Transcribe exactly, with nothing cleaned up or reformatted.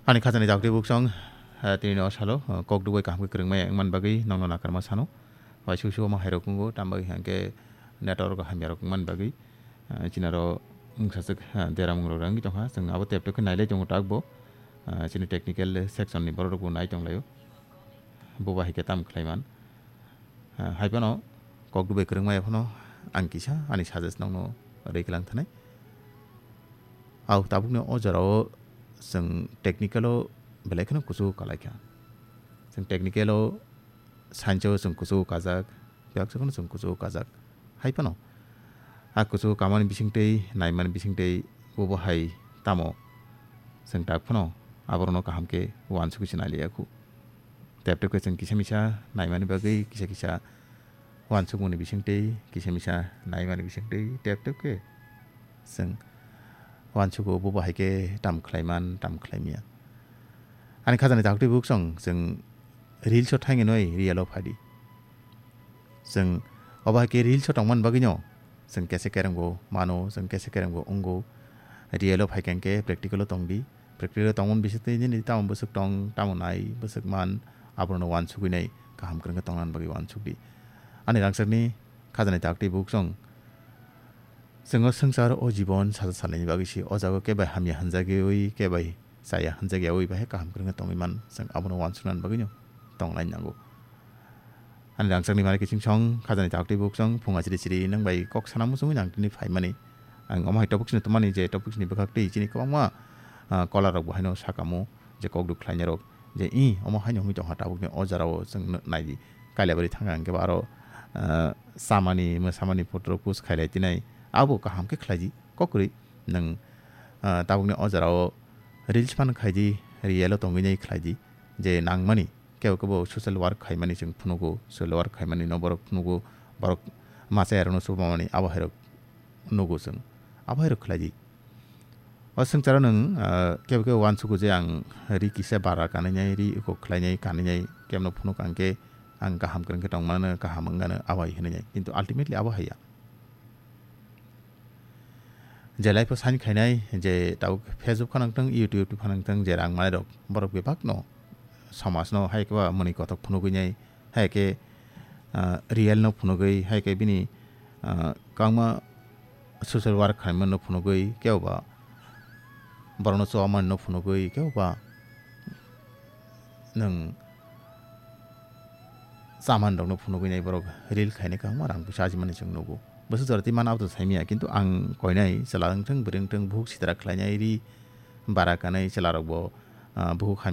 Ani khajani dakti buksong, eh, tini no salo, eh, kok dugoi kaham khe kwrwngmaya wngman bagwi nongno nakarma sano. Waisuk sugo ma hairok wngo, tamo bagwi hwnkhe network hamyarok wngman bagwi, eh, chini aro wngsaswk, eh, deramung rok wngwi tongkha. Chwng abo tep tep khe nailai tongo tak bo, eh, chini technical section ni borok rok bo nai tonglaio. Bo bahai khe tam khlaiman. Ah, hai phano kok dubai kwrwngmaya phano ang kisa ani suggest nokno rwi kwlang thanai. Au tabukni o jorao chwng technical-o belai kheno kuchugo kalaikha. Chwng technical-o science-o chwng kuchugo kajak, bebak phano chwng kuchugo kajak. Hai phano a kuchugo kamani bisingtwi, naimani bisingtwi bobo hai tamo chwng tak phano aborokno kaham khe uansugwi se nailaiya khu. Tep tep khe chwng kisa misa naimani bagwi kisa kisa uansukmungni bisingtwi, kisa misa naimani bisingtwi tep tep khe chwng uansugo bo bahai khe tam khlaiman, tam khlaimaya. Ani khajani daktwi buksong chwng reels-o thainwi noi real-o phadi. Chwng obo hai khe reels-o tongmani bagwino chwng kese kerengbo mano, chwng kese kerengbo wngo. Real-o phai khe hwnkhe practical-o tongdi. Practical-o tongmani bisingtwi nini tamo bwswk tong, tamo nai, bwswk man, abono uansugwi nai, kaham kwrwng khe tongnani bagwi uansukdi. Ani rangchakni khajani daktwi buksong chwng o swngchar o jibon sacha salnani bagwi se o jaga khe bai hamya hwnjagwi, khe bai chaya hwnjak yaui bahai kaham kwrwngkhe tongwi man, chwng abono uansuknani bagwino tonglaini nango. Ani rangchakni mari kiching song, khajani daktwi buksong, phung achiri chiri nang bai kok sana muchungwi nang tini phaimani. Ang omo hai topic sini tumani je topic sini bwkhak twi chini kwbangma, ah, kolarok bo haino sakamo je kok duk khlainai rok je i omo haino hwnwi tongkha tabukni o jorao chwng naidi. Kailabari thangkha hwnkhe bo aro, ah, chamani, mwsamani photo rok post khailai tinai abo kaham khe khlaidi. Kokrwi nwng, ah, tabukni o jorao reels phan khaidi, real o tongwi nai khlaidi, je nangmani kebo kebo social work khaimani chwng phunugo, social work khaimani no borok phunugo, borok machaya rokno chubamani abo hai rok nugo chwng, abo hai rok khlaidi. O swngcharo nwng, ah, kebo kebo uansugo je ang ri kisa bara kanwi nai, ri eko khlai nai, kanwi nai, kebo no phunuk ang khe ang kaham kwrwng khe tong mano, kaham wng gano, abo hai hwnwi nai. Kintu ultimately abo hai ya. Je life o sign khainai, je tabuk Facebook phano wngthang, YouTube phano wngthang, je rang manai rok, borok bebak no, somaj no, hai khe ba mwnwi kothok phunugwi nai, hai khe, ah, real no phunugwi, hai khe bini, ah, kwbangma social work khaimano phunugwi, kebo ba borokno chubamanino phunugwi, kebo ba nwng chamanrokno phunugwi nai borok reel khainai kwbangma rang puisa ajimani chwng nugo. Bwswk jora twi mana abo to saimanya, kintu ang koinai chwla wngthang, bwrwi wngthang, buhuk sitra khlainai ri bara kanai chwlarokbo, ah, buhuk hamya